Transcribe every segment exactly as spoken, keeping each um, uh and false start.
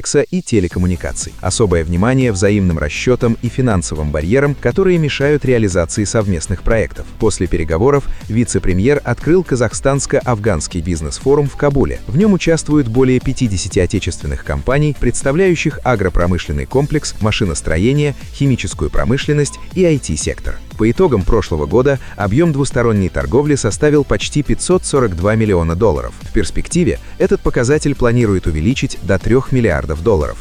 комплекса и телекоммуникаций. Особое внимание взаимным расчетам и финансовым барьерам, которые мешают реализации совместных проектов. После переговоров вице-премьер открыл казахстанско-афганский бизнес-форум в Кабуле. В нем участвуют более пятидесяти отечественных компаний, представляющих агропромышленный комплекс, машиностроение, химическую промышленность и ай ти-сектор. По итогам прошлого года объем двусторонней торговли составил почти пятьсот сорок два миллиона долларов. В перспективе этот показатель планирует увеличить до трёх миллиардов долларов.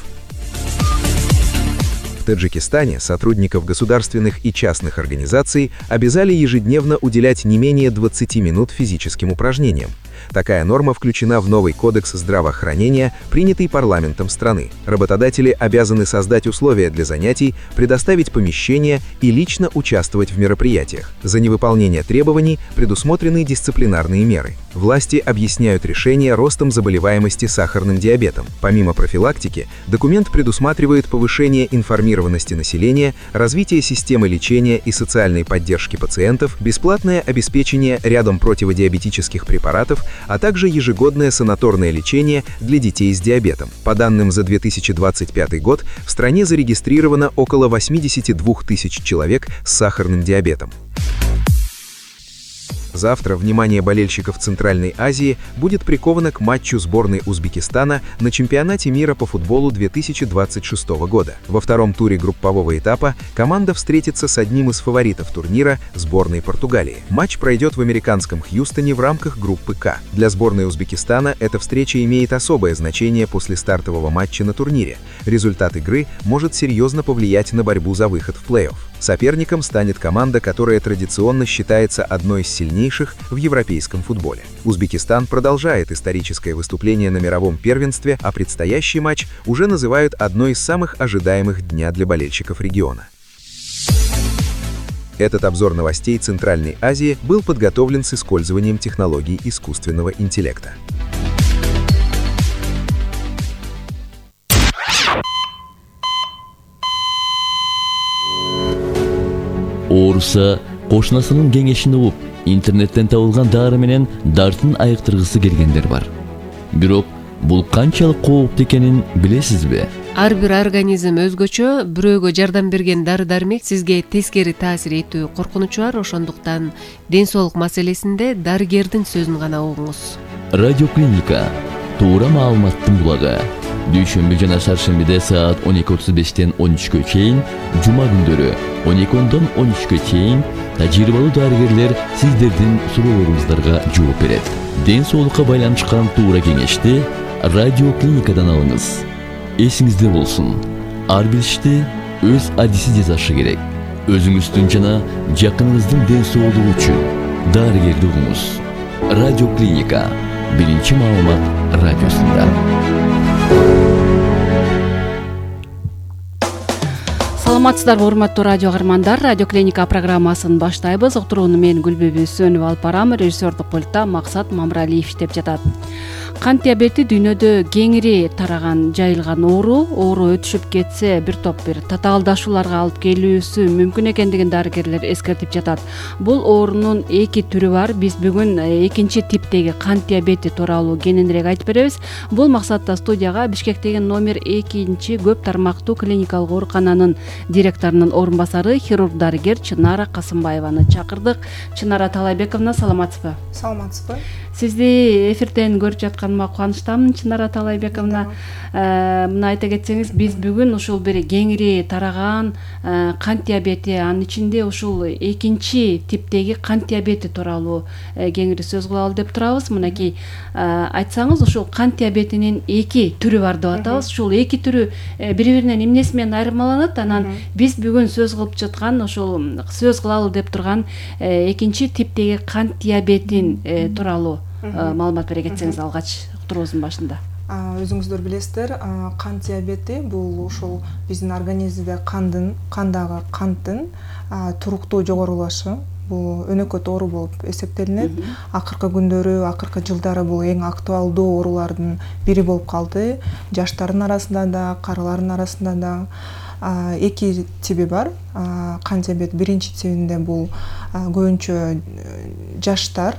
В Таджикистане сотрудников государственных и частных организаций обязали ежедневно уделять не менее двадцати минут физическим упражнениям. Такая норма включена в новый кодекс здравоохранения, принятый парламентом страны. Работодатели обязаны создать условия для занятий, предоставить помещения и лично участвовать в мероприятиях. За невыполнение требований предусмотрены дисциплинарные меры. Власти объясняют решение ростом заболеваемости сахарным диабетом. Помимо профилактики, документ предусматривает повышение информированности населения, развитие системы лечения и социальной поддержки пациентов, бесплатное обеспечение рядом противодиабетических препаратов, а также ежегодное санаторное лечение для детей с диабетом. По данным за две тысячи двадцать пятый год, в стране зарегистрировано около восьмидесяти двух тысяч человек с сахарным диабетом. Завтра внимание болельщиков Центральной Азии будет приковано к матчу сборной Узбекистана на чемпионате мира по футболу две тысячи двадцать шестого года. Во втором туре группового этапа команда встретится с одним из фаворитов турнира – сборной Португалии. Матч пройдет в американском Хьюстоне в рамках группы К. Для сборной Узбекистана эта встреча имеет особое значение после стартового матча на турнире. Результат игры может серьезно повлиять на борьбу за выход в плей-офф. Соперником станет команда, которая традиционно считается одной из сильнейших в европейском футболе. Узбекистан продолжает историческое выступление на мировом первенстве, а предстоящий матч уже называют одной из самых ожидаемых дня для болельщиков региона. Этот обзор новостей Центральной Азии был подготовлен с использованием технологий искусственного интеллекта. Ооруса кошунасынын кеңешин угуп, интернеттен табылган дары менен дартын айыктыргысы келгендер бар. Бирок бул канчалык кооптуу экенин билесизби? Ар бир организм өзгөчө, бирөөгө жардам берген дары-дармек сизге тескери таасир этүү коркунучу бар, ошондуктан ден соолук маселесинде дарыгердин сөзүн гана угуңуз. Радиоклиника туура маалыматтын булагы. Дүйшөмбү жана шаршембиде саат он эки отуз бештен он үчкө чейин, жума күндөрү он эки ондон он үчкө чейин тажрыйбалуу дарыгерлер сиздердин суроолоруңуздарга жооп берет. Ден соолукка байланышкан туура кеңешти радиоклиникадан алыңыз. Эсиңизде болсун, ар бир ишти өз адиси жасашы керек. Өзүңүздүн жана жакыныңыздын ден соолугу үчүн дарыгерди угуңуз. Радиоклиника биринчи маалымат радиосунда. Саламатсыздарбы, урматтуу радио каармандар. Радиоклиника программасын баштайбыз. Уктурууну мен Гүлбүбү Сөнүп алып барам. Режиссердук пультта Максат Мамралиев иштеп жатат. Кант диабети дүйнөдө кеңири тараган, жайылган оору. Оору өтүшүп кетсе, бир топ бир татаалдашууларга алып келүүсү мүмкүн экендигин дарыгерлер эскертип жатат. Бул оорунун эки түрү бар. Биз бүгүн экинчи типтеги кант диабети тууралуу кененирээк айтып беребиз. Бул максатта студияга Бишкектеги номер экинчи көп тармактуу клиникалык оорукананын директорунун орун басары, хирург-дарыгер Чынара Касымбаеваны чакырдык. Чынара Талайбековна, саламатсызбы? Саламатсызбы. Сизди эфирден көрүп жатканыма кубанычтамын, Чынара Талайбековна. Мына айта кетсеңиз, биз бүгүн ушул бир кеңири тараган кант диабети, анын ичинде ушул экинчи типтеги кант диабети тууралуу кеңири сөз кылалы деп турабыз. Мынакей айтсаңыз, ушул кант диабетинин эки түрү бар деп атабыз. Ушул эки түрү бири-биринен эмнеси менен айырмаланат? Анан биз бүгүн сөз кылып жаткан, ушул сөз кылалы деп турган экинчи типтеги кант диабетин тууралуу маалымат бере кетсеңиз алгач уктуруубуздун башында. Өзүңүздөр билесиздер, кант диабети бул ушул биздин организмде кандын, кандагы канттын туруктуу жогорулашы. Бул өнөкөт оору болуп эсептелинет. Акыркы күндөрү, акыркы жылдары бул эң актуалдуу оорулардын бири болуп калды. Жаштардын арасында да, карылардын арасында да. Эки тиби бар. Кант диабет биринчи тибинде бул көбүнчө жаштар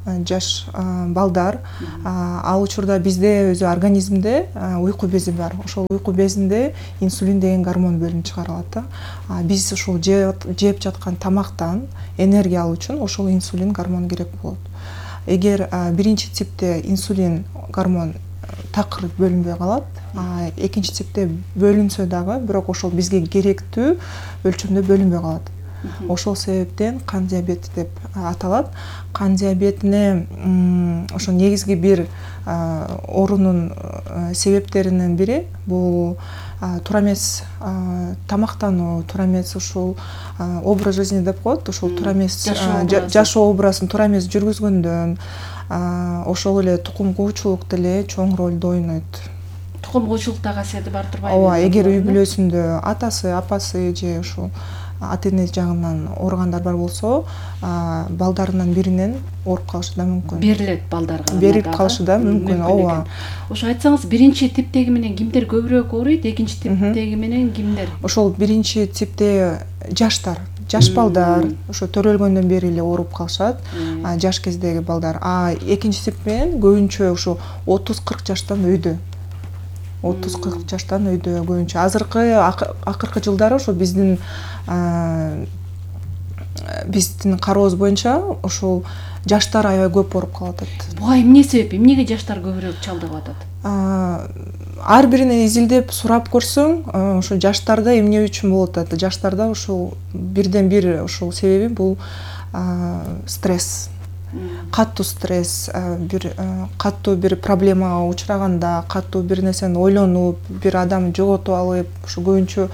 жаш балдар, ал учурда бизде өзү организмде уйку бези бар. Ошол уйку безинде инсулин деген гормон бөлүнүп чыгарылат да. Биз ушул жеп жаткан тамактан энергия алуу үчүн ошол инсулин гормон керек болот. Эгер биринчи типте инсулин гормон такыр бөлүнбөй калат, экинчи типте бөлүнсө дагы, бирок ошол бизге керектүү өлчөмдө бөлүнбөй калат. Ошол себептен кан диабети деп аталат. Кан диабетине ошо негизги бир оорунун себептеринин бири бул туура эмес тамактануу, туура эмес ушул образ жизни деп коет, ушул туура эмес жашоо образын туура эмес жүргүзгөндөн, ошол эле тукум куучулук деле чоң ролду ойнойт. Тукум куучулукта касиети бар турбайбы? Ооба, эгер үй бүлөсүндө атасы, апасы же ушул ата эне жагынан ооругандар бар болсо, балдарынан биринен ооруп калышы да мүмкүн. Берилет балдарга. Берип калышы да мүмкүн. Ооба. Ошо айтсаңыз, биринчи типтеги менен кимдер көбүрөөк ооруйт, экинчи типтеги менен кимдер? Ошол биринчи типте жаштар, жаш балдар, ошо төрөлгөндөн бери эле ооруп калышат, жаш кездеги балдар. А экинчи тип менен көбүнчө ошо отуз кырк жаштан өйдө. отуз кырк жаштан өйдө көбүнчө. Азыркы акыркы жылдары ошо биздин биздин карообуз боюнча ошол жаштар аябай көп ооруп калып атат. Буга эмне себеп? Эмнеге жаштар көбүрөөк чалдыгып атат? Ар биринен изилдеп сурап көрсөң, ошо жаштарда эмне үчүн болуп атат? Жаштарда ошол бирден бир ошол себеби бул стресс. Каттуу стресс, бир каттуу бир проблемага учураганда, каттуу бир нерсени ойлонуп, бир адамды жоготуп алып, ошо көбүнчө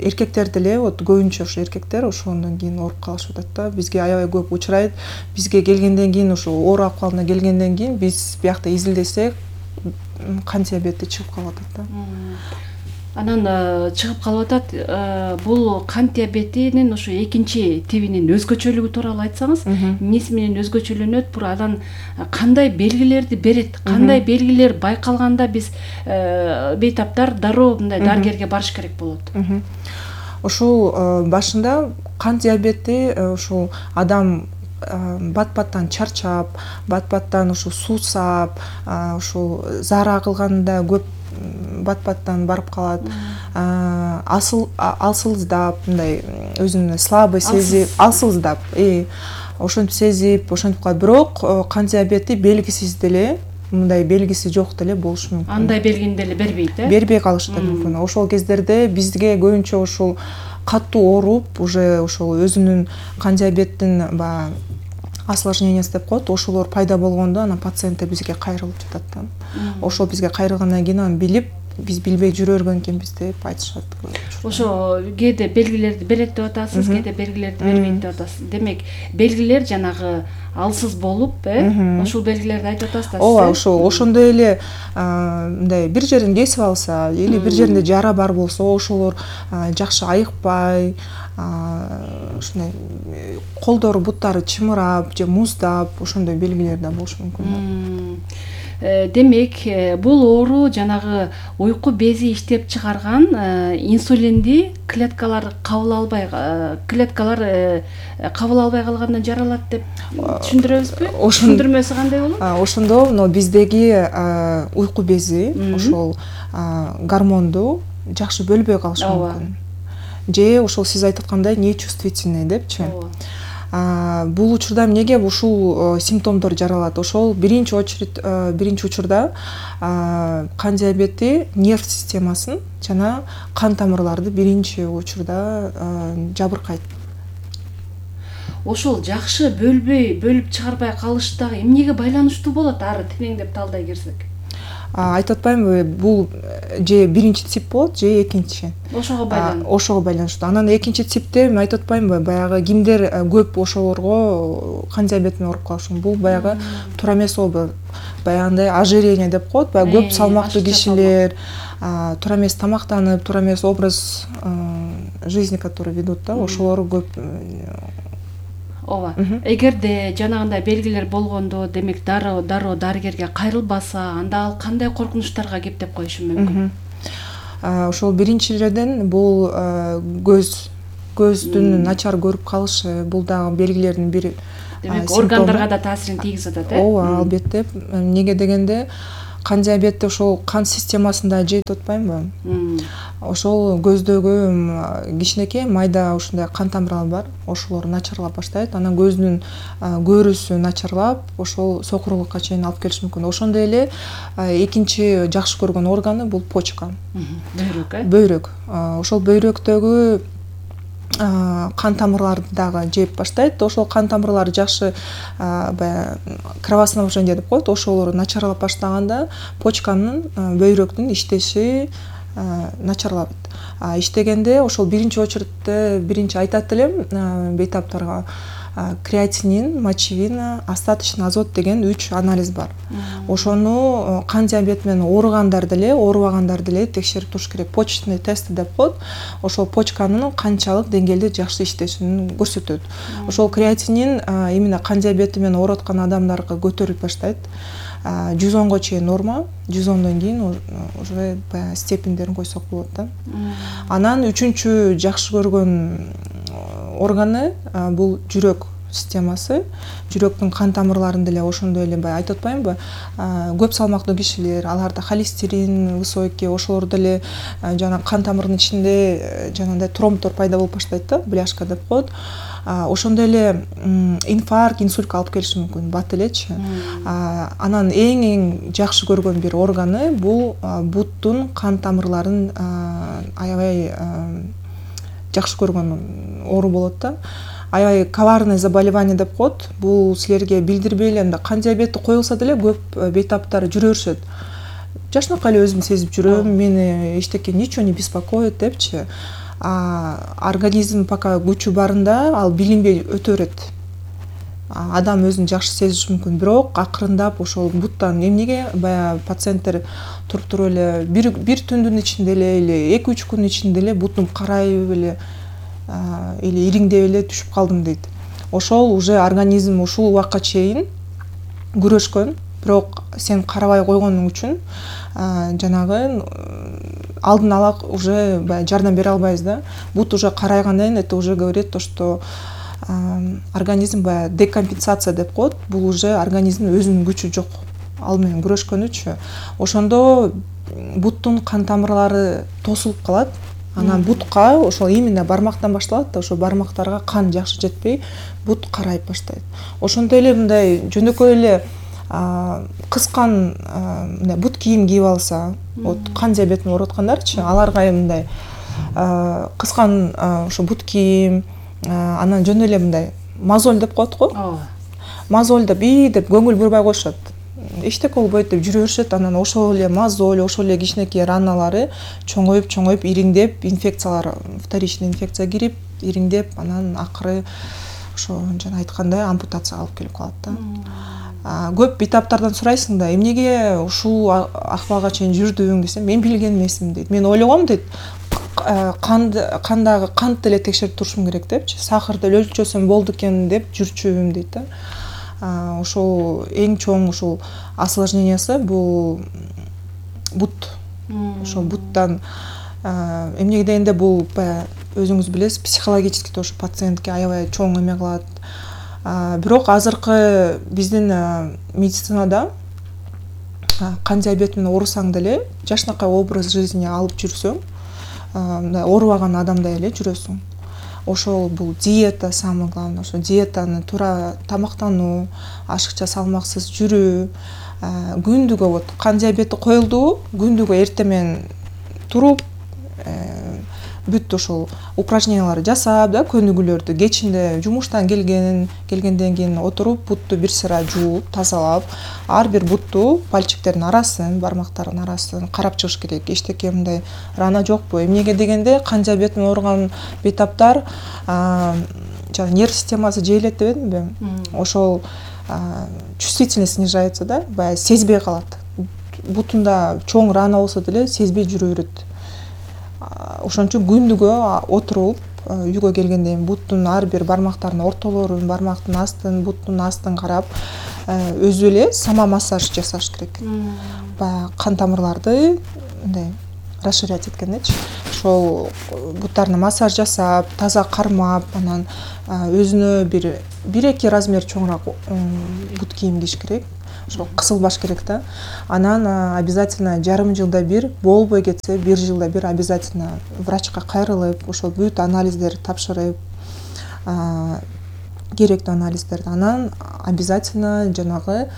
эркектер деле, вот көбүнчө ошо эркектер ошондон кийин ооруп калышып атат да. Бизге аябай көп учурайт. Бизге келгенден кийин, ошо оору акыбалына келгенден кийин биз биякта изилдесек, кан диабети чыгып калып атат да. Анан чыгып калып атат. Бул кан диабетинин ошо экинчи тибинин өзгөчөлүгү тууралуу айтсаңыз, эмнеси менен өзгөчөлөнөт, бура анан кандай белгилерди берет, кандай белгилер байкалганда биз бейтаптар дароо мындай дарыгерге барыш керек болот? Ошол башында кан диабети ошол адам бат-баттан чарчап, бат-баттан ушул суусап, ушул заара кылганда көп бат-баттан барып калат, асыл алсыздап, мындай өзүн слабый сезип, алсыздап, ошентип сезип, ошентип калат. Бирок кан диабети белгисиз деле, мындай белгиси жок деле болушу мүмкүн. Андай белгини деле бербейт, э? Бербей калышы да мүмкүн. Ошол кездерде бизге көбүнчө ошол каттуу ооруп, уже ошол өзүнүн кан диабеттин баягы осложнениясы деп коет, ошолор пайда болгондо анан пациенттер бизге кайрылып жатат да. Ошол бизге кайрылгандан кийин анан билип, биз билбей жүрө берген деп айтышат. Ошо кээде белгилерди берет деп атасыз, кээде белгилерди бербейт деп атасыз. Демек, белгилер жанагы алсыз болуп, э, ошол белгилерди айтып атасыз да. Ооба, ошол ошондой эле мындай бир жерин кесип алса, или бир жеринде жара бар болсо, ошолор жакшы айыкпай, ушундай колдору, буттары чымырап же муздап, ошондой белгилер да болушу мүмкүн. Демек, бул оору жанагы уйку бези иштеп чыгарган инсулинди клеткалар кабыл албай, клеткалар кабыл албай калгандан жаралат деп түшүндүрөбүзбү? Түшүндүрмөсү кандай болот? Ошондо но биздеги уйку бези ошол гормонду жакшы бөлбөй калышы мүмкүн. Же ошол сиз айтып аткандай нечувствительный депчи. Бул учурда эмнеге ушул симптомдор жаралат? Ошол биринчи очередь, биринчи учурда кан диабети нерв системасын жана кан тамырларды биринчи учурда жабыркайт. Ошол жакшы бөлбөй, бөлүп чыгарбай калыштагы эмнеге байланыштуу болот? Ары тереңдеп талдай кирсек. Айтып атпаймынбы, бул же биринчи тип болот, же экинчи. Ошого байланыштуу. Ошого байланыштуу. Анан экинчи типте мен айтып атпаймынбы, баягы кимдер көп ошолорго кан диабетине ооруп калышы мүмкүн. Бул баягы туура эмес образ, баягындай ожирение деп коет, баягы көп салмактуу кишилер, туура эмес тамактанып, туура эмес образ жизни, который ведут да, ошолор көп. Ооба. Эгерде жанагындай белгилер болгондо, демек дароо дароо дарыгерге кайрылбаса, анда ал кандай коркунучтарга кептеп коюшу мүмкүн? Ошол биринчиден бул көз көздүн начар көрүп калышы, бул дагы белгилердин бири демек органдарга да таасирин тийгизип атат э? ооба, албетте. Эмнеге дегенде кан диабети ошол кан системасын да жейт атпаймынбы? Ошол көздөгү кичинекей майда ушундай кан тамырлар бар, ошолор начарлап баштайт. Анан көздүн көрүүсү начарлап, ошол сокурлукка чейин алып келиши мүмкүн. Ошондой эле экинчи жакшы көргөн органы бул почка. Бөйрөк э? Бөйрөк. Ошол бөйрөктөгү кан тамырларды дагы жеп баштайт. Ошол кан тамырлар жакшы баягы кровоснабжение деп коет, ошолор начарлап баштаганда почканын, бөйрөктүн иштеши начарлап иштегенде ошол биринчи очередте биринчи айтат элем бейтаптарга креатинин, мочевина, остаточный азот деген үч анализ бар. Ошону кан диабети менен ооругандар деле, оорубагандар деле текшерип туруш керек. Почечный тест деп коет. Ошол почканын канчалык деңгээлде жакшы иштешин көрсөтөт. Ошол креатинин именно кан диабети менен ооруп аткан адамдарга көтөрүлүп баштайт. жүз онго чейин норма, жүз ондон кийин уже баягы степендерин койсок болот да. Анан үчүнчү жакшы көргөн органы бул жүрөк системасы. Жүрөктүн кан тамырларын деле ошондой эле баягы айтып атпаймынбы? Көп салмактуу кишилер, аларда холестерин высокий, ошолор деле жана кан тамырынын ичинде жанагындай тромбдор пайда болуп баштайт да, бляшка деп коет. Ошондой эле инфаркт, инсультка алып келиши мүмкүн, бат элечи. Анан эң эң жакшы көргөн бир органы бул буттун кан тамырларын аябай жакшы көргөн оору болот да. Аябай коварный заболевание деп коет. Бул силерге билдирбей эле мындай кан диабети коюлса деле көп бейтаптар жүрө беришет. Жашынакай эле өзүм сезип жүрөм, мени эчтеке ничего не беспокоит депчи. Организм пока күчү барында ал билинбей өтө берет. Адам өзүн жакшы сезиши мүмкүн, бирок акырындап ошол буттан эмнеге баягы пациенттер туруп туруп эле бир бир түндүн ичинде эле или эки үч күн ичинде эле бутум карайып эле или ириңдеп эле түшүп калдым дейт. Ошол уже организм ушул убакка чейин күрөшкөн, бирок сен карабай койгонуң үчүн жанагы алдын ала уже баягы жардам бере албайбыз да. Бут уже карайгандан кийин это уже говорит то, что организм баягы декомпенсация деп коет. Бул уже организмдин өзүнүн күчү жок. Ал менен күрөшкөнүчү. Ошондо буттун кан тамырлары тосулуп калат. Анан бутка ошол именно бармактан башталат да, ошо бармактарга кан жакшы жетпей, бут карайып баштайт. Ошондой эле мындай жөнөкөй эле кыскан мындай бут кийим кийип алса, вот кан диабети менен ооруп аткандарчы, аларга мындай кыскан ошо бут кийим, анан жөн эле мындай мозоль деп коет го. Мозоль деп и деп көңүл бурбай коюшат. Эчтеке болбойт деп жүрө беришет. Анан ошол эле мозоль, ошол эле кичинекей раналары чоңоюп, чоңоюп, ириңдеп, инфекциялар, вторичный инфекция кирип, ириңдеп, анан акыры ошо жана айткандай ампутацияга алып келип калат да. Көп бейтаптардан сурайсың да, эмнеге ушул акыбалга чейин жүрдүң десем, мен билген эмесмин дейт. Мен ойлогом дейт, кандагы кант деле текшерип турушум керек депчи, сахарды эле өлчөсөм болду экен деп жүрчүмүн дейт да. Ошол эң чоң ушул осложнениясы бул бут. Ошол буттан эмнеге дегенде бул өзүңүз билесиз, психологически тоже пациентке аябай чоң эме кылат. Бирок азыркы биздин медицинада кан диабети менен оорусаң деле жашынакай образ жизни алып жүрсөң, мындай оорубаган адамдай эле жүрөсүң. Ошол бул диета самое главное, ошо диетаны туура тамактануу, ашыкча салмаксыз жүрүү, күндүгө вот кан диабети коюлду, күндүгө эртең менен туруп бүт ошол упражненияларды жасап да, көнүгүүлөрдү, кечинде жумуштан келген, келгенден кийин отуруп, бутту бир сыра жууп, тазалап, ар бир бутту, пальчиктердин арасын, бармактардын арасын карап чыгыш керек. Эчтеке мындай рана жокпу? Эмнеге дегенде кан диабети менен ооруган бейтаптар жана нерв системасы жейилет дебедимби? Ошол чувствительность снижается да, баягы сезбей калат. Бутунда чоң рана болсо деле сезбей жүрө берет. Ошон үчүн күндүгө отуруп, үйгө келгенден кийин буттун ар бир бармактарынын ортолорун, бармактын астын, буттун астын карап, өзү эле сама массаж жасаш керек. Баягы кан тамырларды мындай расширять эткендечи. Ошол буттарына массаж жасап, таза кармап, анан өзүнө бир бир эки размер чоңураак бут кийим кийиш керек. Ошо кысылбаш керек да. Анан обязательно жарым жылда бир, болбой кетсе бир жылда бир обязательно врачка кайрылып, ошол бүт анализдерди тапшырып, керектүү анализдерди. Анан обязательно жанагы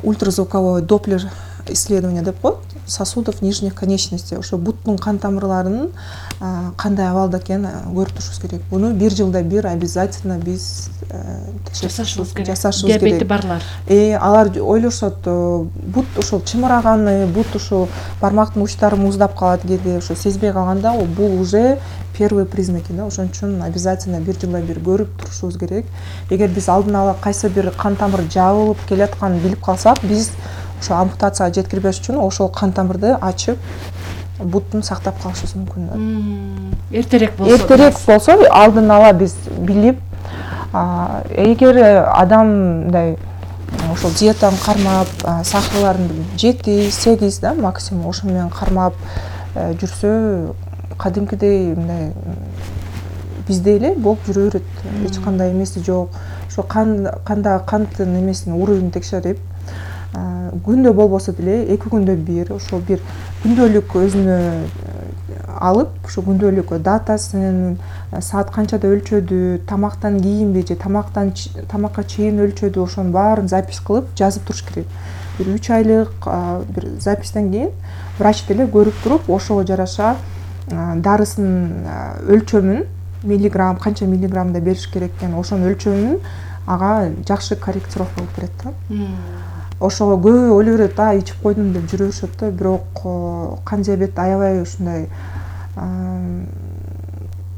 ультразвуковой доплер исследование деп коет, сосудов нижних конечностей. Ошо буттун кан тамырларынын кандай абалда экенин көрүп турушубуз керек. Буну бир жылда бир обязательно биз жасашыбыз керек. Жасашыбыз керек. Диабети барлар. Э, алар ойлошот, бут ошол чымыраганы, бут ушул бармактын учтары муздап калат кээде, ошо сезбей калганда, бул уже первые признаки да. Ошон үчүн обязательно бир жылда бир көрүп турушубуз керек. Эгер биз алдын ала кайсы бир кан тамыр жабылып келатканын билип калсак, биз ошо ампутацияга жеткирбеш үчүн ошол кан тамырды ачып, буттун сактап калышыбыз мүмкүн да. Эртерээк болсо. Эртерээк болсо, алдын ала биз билип, эгер адам мындай ошол диетаны кармап, сахарларын жети сегиз да максимум ошо менен кармап жүрсө, кадимкидей мындай бизде эле болуп жүрө берет. Эч кандай эмеси жок. Ошо кан кандагы канттын эмесин уровенин текшерип, күндө болбосо деле эки күндө бир ошол бир күндөлүк өзүнө алып, ошо күндөлүк датасын, саат канчада өлчөдү, тамактан кийинби же тамактан тамакка чейин өлчөдү, ошонун баарын запись кылып жазып туруш керек. Бир үч айлык бир запистен кийин врач деле көрүп туруп, ошого жараша дарысынын өлчөмүн, миллиграмм, канча миллиграммда бериш керек экенин, ошонун өлчөмүн ага жакшы корректировка кылып берет да. Ошого көбү ойлой берет, а ичип койдум деп жүрө беришет да, бирок кан диабет аябай ушундай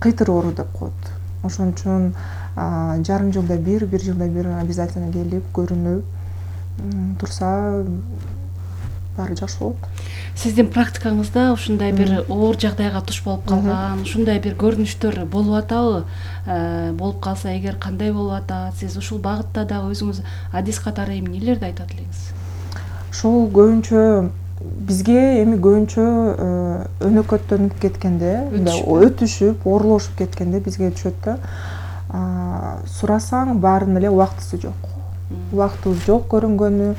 кыйтыр оору деп коет. Ошон үчүн жарым жылда бир, бир жылда бир обязательно келип көрүнүп турса баары жакшы болот. Сиздин практикаңызда ушундай бир оор жагдайга туш болуп калган, ушундай бир көрүнүштөр болуп атабы? Болуп калса, эгер кандай болуп атат? Сиз ушул багытта дагы өзүңүз адис катары эмнелерди айтат элеңиз? Ушул көбүнчө бизге эми көбүнчө өнөкөттөнүп кеткенде, өтүшүп, оорулошуп кеткенде бизге түшөт да. Сурасаң баарынын эле убактысы жок. Убактыбыз жок көрүнгөнү,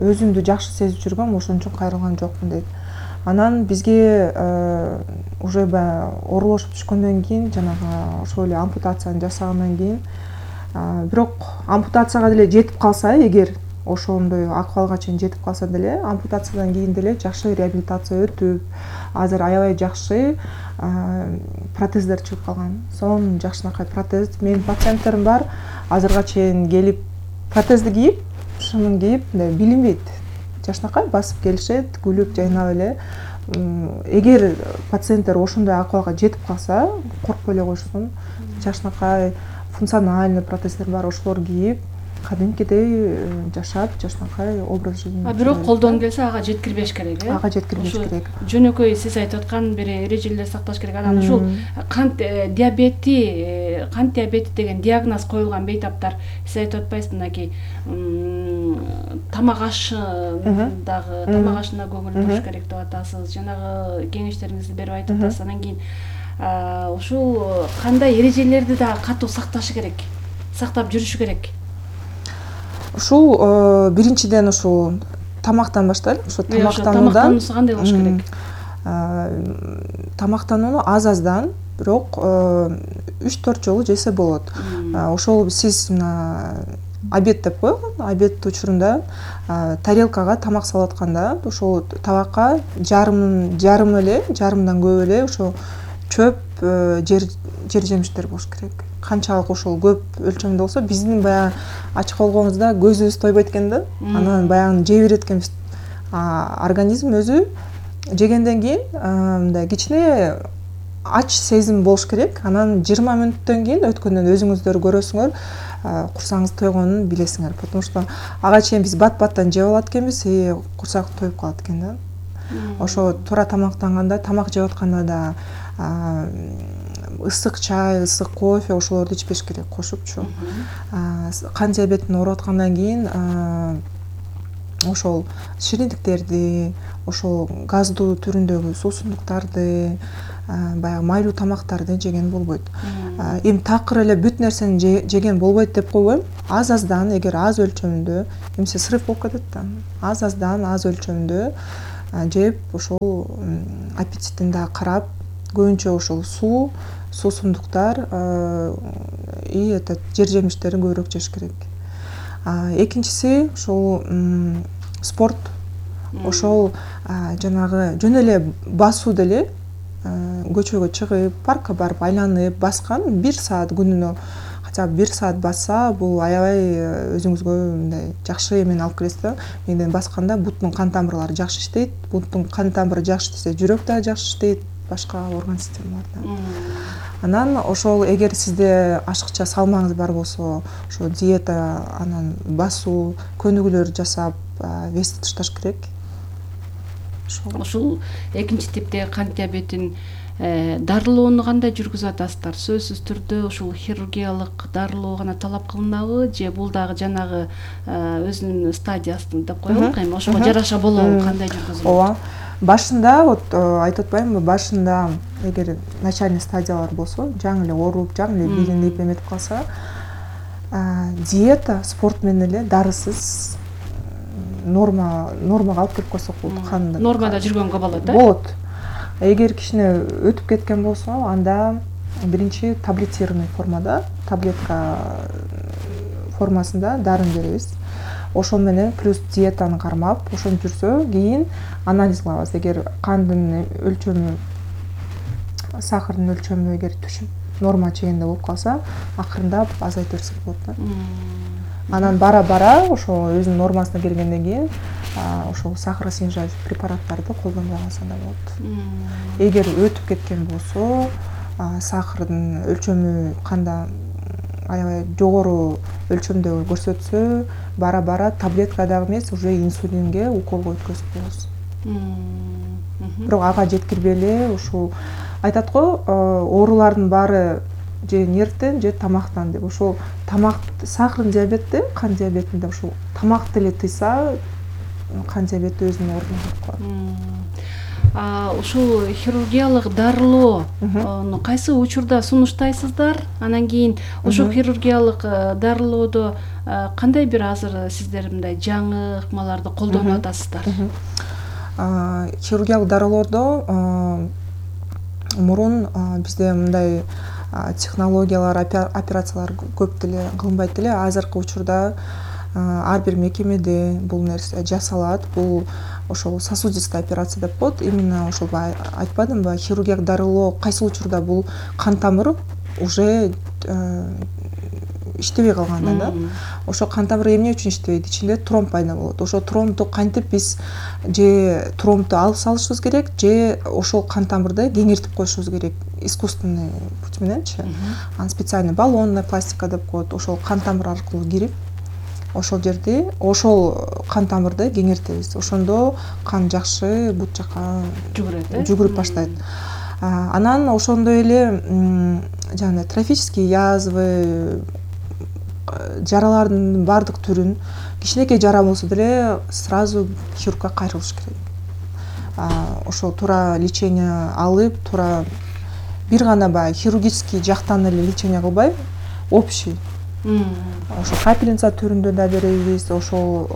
өзүмдү жакшы сезип жүргөм, ошон үчүн кайрылган жокмун дейт. Анан бизге уже оорулошуп түшкөндөн кийин, жанагы ошол эле ампутацияны жасагандан кийин, бирок ампутацияга деле жетип калса, эгер ошондой акыбалга чейин жетип калса деле, ампутациядан кийин деле жакшы реабилитация өтүп, азыр аябай жакшы протездер чыгып калган. Сонун жакшынакай протез. Менин пациенттерим бар, азырга чейин келип протезди кийип, шынын кийип, билинбейт. Жакшынакай басып келишет, күлүп, жайнап эле. Эгер пациенттер ошондой акыбалга жетип калса, коркпой эле койсун. Жакшынакай функциональный протездер бар, ошолор кийип, кадимкидей жашап, жакшынакай образ жизни. А бирок колдон келсе ага жеткирбеш керек, э? Ага жеткирбеш керек. Жөнөкөй сиз айтып аткан бир эрежелер сакташ керек. Анан ушул кант диабети, кант диабети деген диагноз коюлган бейтаптар, сиз айтып атпайсызбы, мынакей тамак ашын дагы, тамак ашына көңүл буруш керек деп атасыз. Жанагы кеңештериңизди берип айтып атасыз. Анан кийин ушул кандай эрежелерди да катуу сакташы керек, сактап жүрүшү керек? Ушул биринчиден ушул тамактан баштайлы. Ошо тамактануудан кандай болуш керек? Тамактанууну аз-аздан, бирок үч төрт жолу жесе болот. Ошол сиз обед деп коелу, обед учурунда тарелкага тамак салып атканда, ошол табакка жарым жарым эле, жарымдан көп эле ошо чөп, жер жер жемиштер болуш керек. Канчалык ошол көп өлчөмдө болсо, биздин баягы ачык болгонубузда көзүбүз тойбойт экен да. Анан баягы жей берет экенбиз. Организм өзү жегенден кийин мындай кичине ач сезим болуш керек. Анан жыйырма мүнөттөн кийин өткөндөн өзүңүздөр көрөсүңөр, курсагыңыз тойгонун билесиңер. Потому что ага чейин биз бат-баттан жеп алат экенбиз, и курсак тоюп калат экен да. Ошо туура тамактанганда, тамак жеп атканда да ысык чай, ысык кофе ошолорду ичпеш керек, кошупчу. Кан диабетине ооруп аткандан кийин ошол шириндиктерди, ошол газдуу түрүндөгү суусундуктарды, баягы майлуу тамактарды жеген болбойт. Эми такыр эле бүт нерсени жеген болбойт деп койбойм. Аз аздан, эгер аз өлчөмүндө, эмесе срыв болуп кетет да. Аз аздан, аз өлчөмүндө жеп, ошол аппетитин да карап, көбүнчө ошол суу, суусундуктар и этот жер жемиштерин көбүрөөк жеш керек. Экинчиси ошол спорт. Ошол жанагы жөн эле басуу деле, көчөгө чыгып, паркка барып айланып баскан бир саат күнүнө хотя бы бир саат басса, бул аябай өзүңүзгө мындай жакшы эмени алып келесиз да. Менден басканда буттун кан тамырлары жакшы иштейт. Буттун кан тамыры жакшы иштесе, жүрөк да жакшы иштейт, башка орган системалар да. Анан ошол эгер сизде ашыкча салмаңыз бар болсо, ошо диета, анан басуу, көнүгүүлөр жасап, вести ташташ керек. Ушул экинчи типтеги кант диабетин дарылоону кандай жүргүзүп атасыздар? Сөзсүз түрдө ушул хирургиялык дарылоо гана талап кылынабы, же бул дагы жанагы өзүнүн стадиясын деп коелук, эми ошого жараша болобу, кандай жүргүзүлөт? Ооба. Башында, вот айтып атпаймынбы, башында эгер начальный стадиялар болсо, жаңы эле ооруп, жаңы эле билинип эметип калса, диета, спорт менен эле дарысыз норма нормага алып келип койсок болот. Канды нормада жүргөнгө болот, э? Болот. Эгер кичине өтүп кеткен болсо, анда биринчи таблетированный формада, таблетка формасында дарын беребиз. Ошол менен плюс диетаны кармап, ошентип жүрсө, кийин анализ кылабыз. Эгер кандын өлчөмү, сахардын өлчөмү эгер түшүп норма чегинде болуп калса, акырындап азайтып берсек болот да. Анан бара-бара ошо өзүнүн нормасына келгенден кийин ошол сахароснижающий препараттарды колдонбой калса да болот. Эгер өтүп кеткен болсо, сахардын өлчөмү канда аябай жогору өлчөмдө көрсөтсө, бара-бара таблетка дагы эмес, уже инсулинге уколго өткөзүп коебуз. Бирок ага жеткирбей эле ушул айтат го, оорулардын баары же нервден, же тамактан деп. Ошол тамак, сахардын диабетте, кант диабетинде ушул тамакты эле тыйса, кант диабети өзүнүн ордуна келип калат. Ушул хирургиялык дарылоону кайсы учурда сунуштайсыздар? Анан кийин ошол хирургиялык дарылоодо кандай бир азыр сиздер мындай жаңы ыкмаларды колдонуп атасыздар? Хирургиялык дарылоодо мурун бизде мындай технологиялар, операциялар көп деле кылынбайт эле. Азыркы учурда ар бир мекемеде бул нерсе жасалат. Бул ошол сосудистая операция деп коет. Именно ошол айтпадымбы, хирургиялык дарылоо кайсы учурда бул кан тамыр уже иштебей калганда да. Ошо кан тамыр эмне үчүн иштебейт? Ичинде тромб пайда болот. Ошо тромбду кантип биз же тромбду алып салышыбыз керек, же ошол кан тамырды кеңиртип коюшубуз керек. Искусственный путь мененчи. Аны специальный баллонная пластика деп коет. Ошол кан тамыр аркылуу кирип, ошол жерди, ошол кан тамырды кеңиртебиз. Ошондо кан жакшы бут жака жүгүрөт, жүгүрүп баштайт. Анан ошондой эле жана трофический язвы, жаралардын бардык түрүн, кичинекей жара болсо деле сразу хирургка кайрылыш керек. Ошол туура лечение алып, туура бир гана баягы хирургический жактан эле лечение кылбай, общий. Ошол капельница түрүндө да беребиз, ошол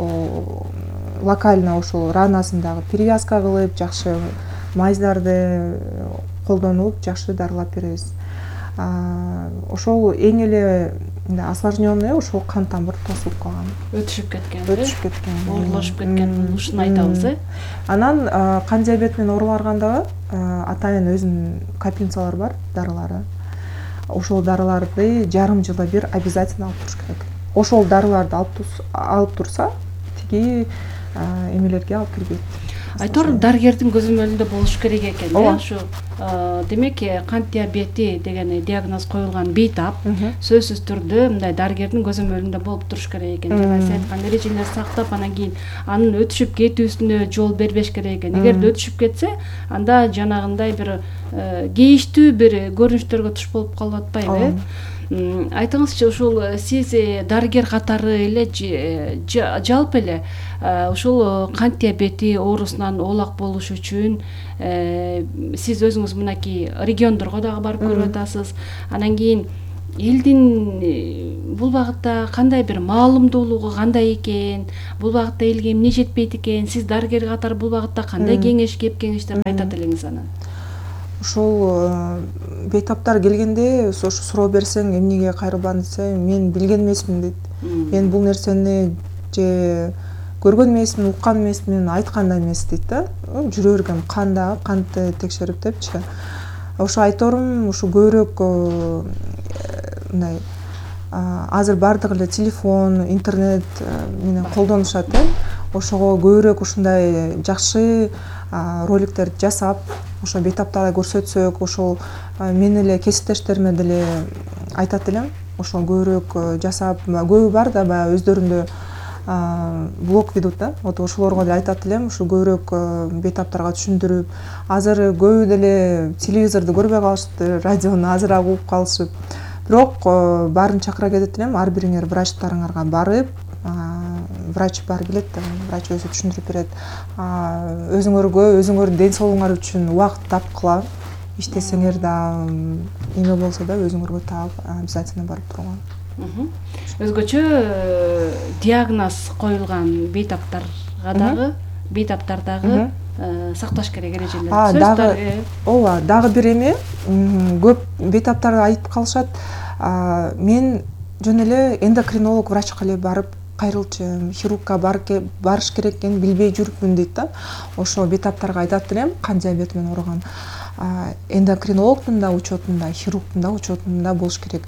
локально ошол ранасында дагы перевязка кылып, жакшы майздарды колдонуп, жакшы дарылап беребиз. Ошол эң эле осложненный ошол кан тамыр тосулуп калган. Өтүшүп кеткен. Өтүшүп кеткен. Оорулашып кеткен, ушуну айтабыз, э? Анан кант диабет менен оорулаган дагы атайын өзүнүн капельницалары бар, дарылары. Ошол дарыларды жарым жылда бир обязательно алып туруш керек. Ошол дарыларды алып турса, тиги эмелерге алып кирбейт. Айтор дарыгердин көзөмөлүндө болуш керек экен, э? Ушу демек кант диабети деген диагноз коюлган бейтап сөзсүз түрдө мындай дарыгердин көзөмөлүндө болуп туруш керек экен. Жана сиз айткан эрежелерди сактап, анан кийин анын өтүшүп кетүүсүнө жол бербеш керек экен. Эгер өтүшүп кетсе, анда жанагындай бир кейиштүү бир көрүнүштөргө туш болуп калып атпайбы, э? Айтыңызчы, ушул сиз дарыгер катары эле жалпы эле ушул кант диабети оорусунан оолак болуш үчүн сиз өзүңүз мынакей региондорго дагы барып көрүп атасыз. Анан кийин элдин бул багытта кандай бир маалымдуулугу кандай экен, бул багытта элге эмне жетпейт экен, сиз дарыгер катары бул багытта кандай кеңеш кеп кеңештерди айтат элеңиз анан? Ушул бейтаптар келгенде ошо суроо берсең эмнеге кайрылбадың десе, мен билген эмесмин дейт. Мен бул нерсени же көргөн эмесмин, уккан эмесмин, айткан да эмес дейт да. Жүрө бергем кандагы кантты текшерип депчи. Ошо айторум, ушу көбүрөөк мындай азыр бардыгы эле телефон, интернет менен колдонушат э. Ошого көбүрөөк ушундай жакшы роликтерди жасап, ошо бейтаптарда көрсөтсөк, ошол мен эле кесиптештериме деле айтат элем. Ошо көбүрөөк жасап, көбү бар да баягы өздөрүндө блог ведут да. Вот ошолорго деле айтат элем, ушу көбүрөөк бейтаптарга түшүндүрүп, азыр көбү деле телевизорду көрбөй калышты, радиону азыраак угуп калышып. Бирок баарын чакыра кетет элем, ар бириңер врачтарыңарга барып, врач бар билет, врач өзү түшүндүрүп берет. Өзүңөргө, өзүңөрдүн ден соолугуңар үчүн убакыт тапкыла, иштесеңер да эме болсо да өзүңөргө таап обязательно барып турган. Өзгөчө диагноз коюлган бейтаптарга дагы, бейтаптардагы сакташ керек эрежелер. Дагы, ооба, дагы бир эме, көп бейтаптар айтып калышат. Мен жөн эле эндокринолог врачка эле барып кайрылчу, хирургка барыш керек экенин билбей жүрүпмүн дейт да. Ошо бейтаптарга айтат элем, кант диабети менен ооруган эндокринологдун да учетунда, хирургдун да учетунда болуш керек.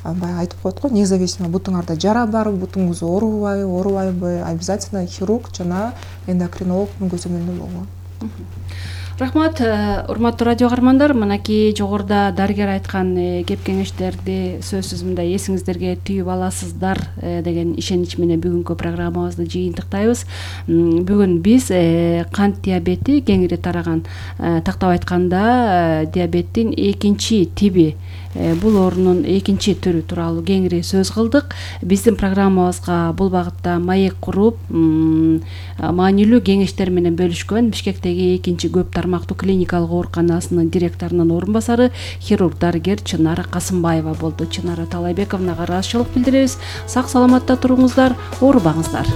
Баягы айтып коет го, независимо бутуңарда жара барбы, бутуңуз оорубайбы, оорубайбы, обязательно хирург жана эндокринологдун көзөмөлүндө болгон. Рахмат, урматтуу радио каармандар, мынакей жогоруда дарыгер айткан кеп кеңештерди сөзсүз мындай эсиңиздерге түйүп аласыздар деген ишенич менен бүгүнкү программабызды жыйынтыктайбыз. Бүгүн биз кант диабети кеңири тараган, тактап айтканда диабеттин экинчи тиби, бул оорунун экинчи түрү тууралуу кеңири сөз кылдык. Биздин программабызга бул багытта маек куруп, маанилүү кеңештер менен бөлүшкөн Бишкектеги экинчи көп тармактуу клиникалык ооруканасынын директорунун орун басары хирург дарыгер Чынара Касымбаева болду. Чынара Талайбековнага ыраазычылык билдиребиз. Сак саламатта туруңуздар, оорубаңыздар.